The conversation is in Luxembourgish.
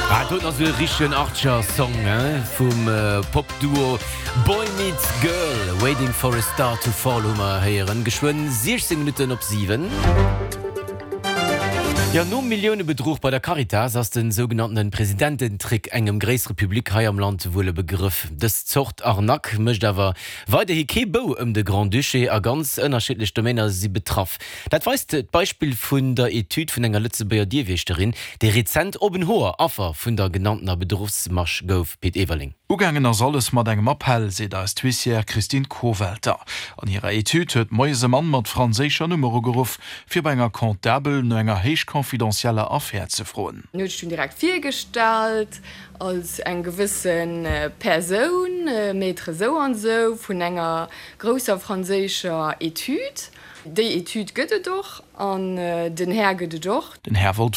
Ah, doten ass e richtegen Archer-Song, hein, vum Pop-Duo Boy Meets Girl. Waiting for a Star to Fall hu mer héieren. Geschwënn 16 Minutten op 7. Jo, nom Milliounebedruch bei der Caritas ass de sougenanntene Presidententrick engem gréissere Public hei am Land wuel e Begrëff. Dës Zort Arnaque mécht awer weiderhi kee Bou ëm de Grand-Duché a ganz ënnerschiddlech Domainer si betraff. Dat weist d'Beispill vun der Etüd vun enger Lëtzebuerger Dierwieschterin, déi rezent op en Hoer Affer vun der genanntener Bedruchsmasch gouf. Pit Everling. Ugaangen ass alles mat engem Appell, seet eis d'Huissière Christine Kowelter. An hirer Etüd huet moies e Mann mat franséischer Nummer ugeruff, fir bei enger Comptabel no enger héich confidentieller Affär ze froen. En huet sech dunn direkt virgestallt als eng gewësse Persoun, Maître esou an esou, vun enger grousser franséischer Etüd. Déi Etüd gëtt et och an den Här gëtt et och. Den Här wollt.